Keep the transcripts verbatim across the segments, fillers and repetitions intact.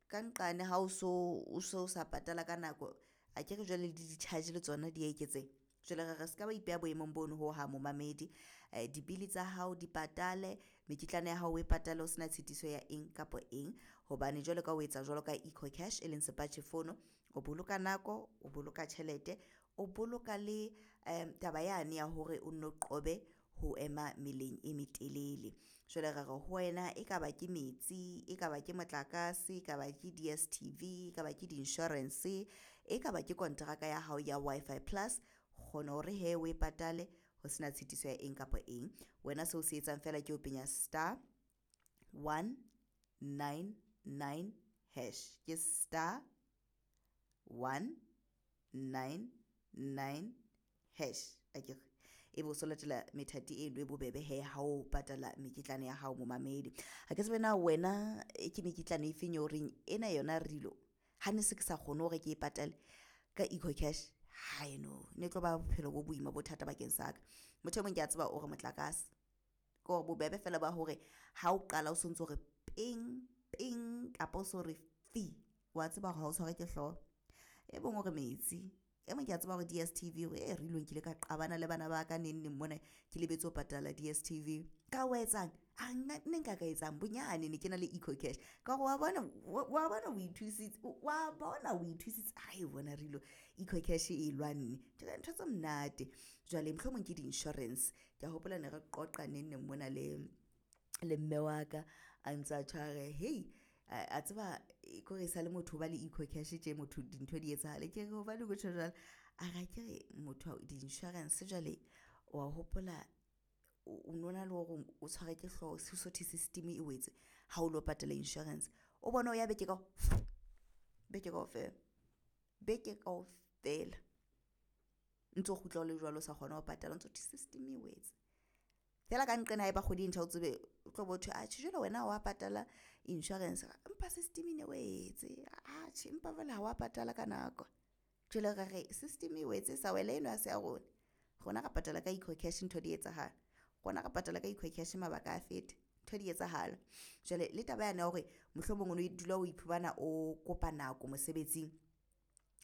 Ka nqane ha o so o so sa patala ka nako, akere jwale le di-charge le tsona di ya eketseha. Jwale re re se ka ba ipeha boemong bono hohang momamedi. Di-bill tsa hao di patale, mekitlane ya hao o e patale ho sena tshitiso ya eng kapa eng. Hobane jwalo ka o etsa jwalo ka Eco Cash e leng sepatjhe fono, o boloka nako, o boloka tjhelete, o boloka le taba yane ya hore o nno qobe ho ema meleng e metelele. Jwale re re ho wena e ka ba ke metsi, e ka ba ke motlakase, e ka ba ke D_S_T_V, e ka ba ke di-insurance, e ka ba ke kontraka ya hao ya Wi-Fi Plus, kgona hore hee o e patale ho sena tshitiso ya eng kapa eng. Wena seo se etsang feela ke ho penya star one nine nine hash, ke star one nine nine hash akere, ebe o so latela methati eno e bobebe hee ha o patala mekitlane ya hao momamedi. Ha ke tsebe na wena ke mekitlane e feng eo reng ena yona rilo ha ne se ke sa kgone hore ke e patale ka Eco Cash no ne tlo ba bophelo bo boima bo thata bakeng sa ka. Motho e mong ke a tseba o re motlakase ke hore bobebe feela ba hore ha o qala o sontso o re ping ping kapa o so re fi, wa tseba hore ha o tshwarwe ke hlooho. E mong o re metsi, e mong ke a tseba hore D_S_T_V e rilo nkile ka qabana le bana ba ka neng neng mona ke lebetse ho patala D_S_T_V. Ka wa etsang a nna ne nka ka etsang bonyane ne ke na le Eco Cash ka hore wa bona wa bona o ithusitse wa bona o ithusitse ae bona rilo Eco Cash e lwanne ntho tse monate. Jwale mohlomong ke di-insurance ke ya hopola ne re qoqa neng neng mona le le mme wa ka a ntse a tjho a re hei a tseba kore e sale motho o ba le Eco Cash tje motho dintho di etsahale. Ke re hobaneng o tjho jwalo, a re akere motho di-insurance jwale wa hopola o no na le hore o tshwarwe ke hlooho so thwe system e wetse ha o lo patala insurance. O bone o ya beke beke kaofela, beke kaofela ntso kgutla o le jwalo o sa kgona ho patala, o ntso thwe system e wetse. Feela ka nqena ha eba kgwedi e ntjha o tsebe o tlo bo thwe atjhe jwale wena ha wa patala insurance, empa system e ne wetse atjhe empa jwale ha wa patala ka nako. Jwale re re system e wetse e sa wela eno ha se ya rona, rona re patala ka Eco Cash ntho di etsahala, rona re patala ka Eco Cash mabaka a fete ntho di etsahala. Jwale le taba yane ya hore mohlomong o no dula o iphumana o kopa nako mosebetsing,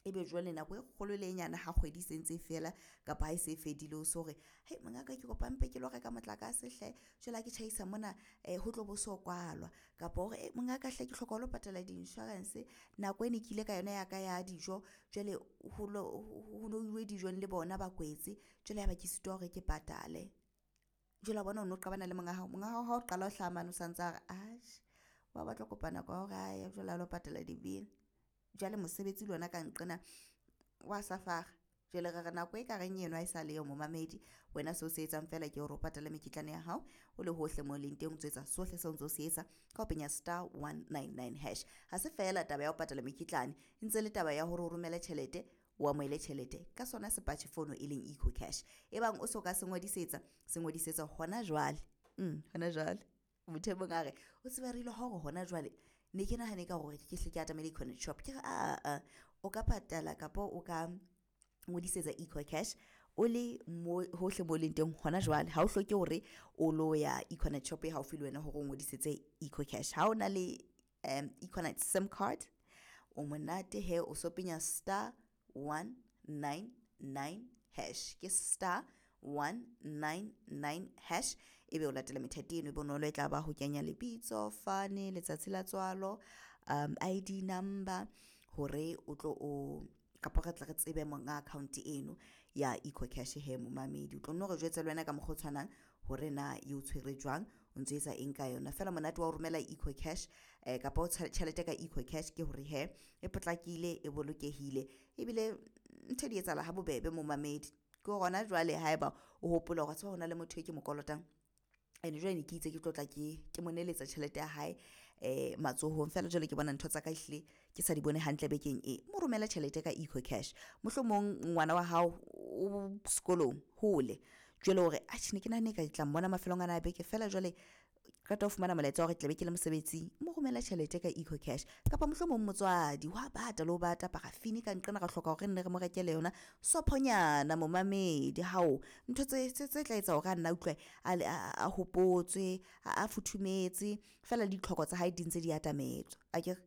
ebe jwale nako e kgolo le e nyane ha kgwedi e sentse e fela kapa ha e se e fedile o so re hei mongaka ke kopa mpe ke lo reka motlakase hle jwale ha ke tjhaisa mona ho tlo bo so kwalwa kapa hore mongaka hle ke hloka ho lo patala di-insurance nako e ne ke ile ka yona ya ka ya dijo jwale ho no uwe dijong le bona ba kwetse jwale ya ba ke sitwa hore ke patale. Jwale wa bona o no qabana le monga hao, monga hao ha o qala ho hlaha mane o santsa a re atjhe wa batla ho kopa nako ya hore a ye jwale a lo patala di-bill. Jwale mosebetsi le ona ka nqena wa safara jwale re re nako e ka reng eno ha e sa leyo momamedi. Wena seo se etsang feela ke hore o patale mekitlane ya hao o le hohle mo leng teng, o ntso etsa sohle seo ntso se etsa ka ho penya star one nine nine hash. Ha se feela taba ya ho patala mekitlane, e ntse le taba ya hore o romele tjhelete o amohele tjhelete ka sona sepatjhe fono e leng Eco Cash. Ebang o so ka se ngodisetsa, se ngodisetsa hona jwale hona jwale. Motho e mong a re o tseba re ile hore hona jwale ne ke nahane ka hore ke hle ke atamele Econet shop. Ke re aa o ka patala kapa o ka ngodisetsa Eco Cash o le mo hohle mo leng teng hona jwale. Ha o hloke hore o lo ya Econet shop e haufi le wena hore o ngodisetse Eco Cash. Ha o na le Econet SIM card o monate he o so penya star one nine nine hash, ke star one nine nine hash ebe o latela methati eno e bonolo e tla ba ho kenya lebitso fane, letsatsi la tswalo, um I_D number hore o tlo o kapa re tle re tsebe monga account eno ya Eco Cash he momamedi. O tlo nno re jwetse le wena ka mokgwa o tshwanang hore na e o tshwere jwang, o ntso etsa eng ka yona. Feela monate wa ho romela Eco Cash kapa tjhelete ka Eco Cash ke hore he e potlakile, e bolokehile ebile ntho di etsahala ha bobebe momamedi. Ke hona jwale haeba o hopola hore wa tseba hona le motho e ke mo kolotang ene jwale ne ke itse ke tlo tla ke ke mo neletsa tjhelete ya hae matsohong feela jwale ke bona ntho tsa ka ehlile ke sa di bone hantle bekeng e, mo romele tjhelete ka Eco Cash. Mohlomong ngwana wa hao o sekolong hole jwale hore atjhe ne ke nahanne ka tla mmona mafelong ana a beke feela jwale qeta ho fumana molaetsa wa hore tla be ke le mosebetsing, mo romele tjhelete ka Eco Cash. Kapa mohlomong motswadi wa bata le ho bata paraffin ka nqena re hloka hore re nne re mo rekele yona sophonyana momamedi. Hao ntho tse tse tla etsa hore a nna utlwe a hopotswe, a futhumetse feela le ditlhoko tsa hae di ntse di atametswa akere.